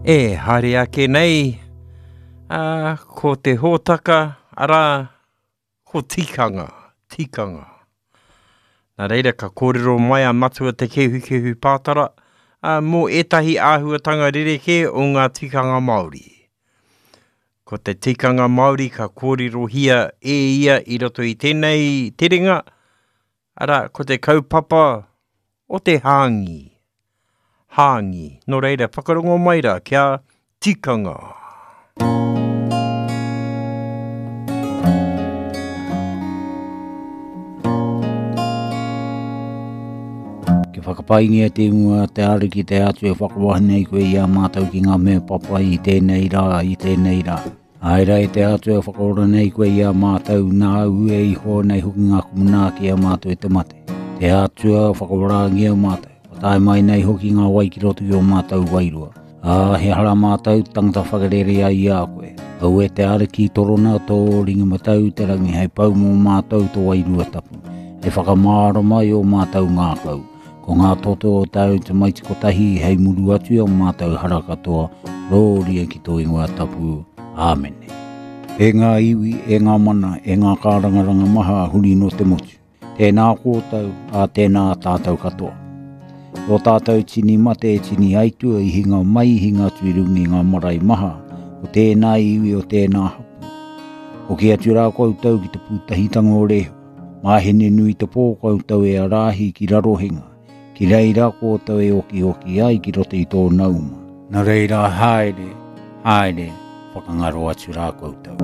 E haere ake nei, ā, ko te hōtaka, arā, ko tikanga, tikanga. Nā reira ka kōrero mai a Matua Te Kehukehu Pātara, ā, mō ētahi āhuatanga rerekē o ngā tikanga Māori. Ko te tikanga Māori ka kōrerohia e ia i roto i tēnei terenga, arā, ko te kaupapa o te hāngī. Hāngī. Nō reira, whakarongo mai rā kia tikanga. Kia whakapaingia te ingoa te Ariki te Atua e whakawahi nei koe i a mātou ki ngā mea papai i tēnei rā, i tēnei rā. Āe rā e te Atua e whakaora nei koe i a mātou, nāu e iho nei hoki ngā kumu ki a mātou e te mate. Te Atua whakaorangia mātou, kua tae mai nei hoki ngā wai ki roto ki ō mātou wairua. Ā, he hara mātou tangata whakarere ai i a koe. Aue te Ariki torona tō ringa matau i te rangi hei pau mō mātou tō Wairua Tapu, hei whakamārama i ō mātou ngākau. Ko ngā toto o tāu tamaiti kotahi hei muru atu i ō mātou hara katoa, rōria ki tō ingoa tapu. Āmene. E ngā iwi, e ngā mana, e ngā kārangaranga maha huri nō te motu. Tēnā koutou, ā, tēnā tātou katoa. Tō tātou tini mate e tini aitua i hinga mai i hinga atu i runga i ngā marae maha o tēnā iwi o tēnā hapū. Hoki atu rā koutou ki te pūtahitanga o Rehua, māhene nui te pō koutou e arahi ki Rarohenga, ki reira koutou e okioki ai ki roto i tōna uma. Nā reira haere, haere, whakangaro atu rā koutou.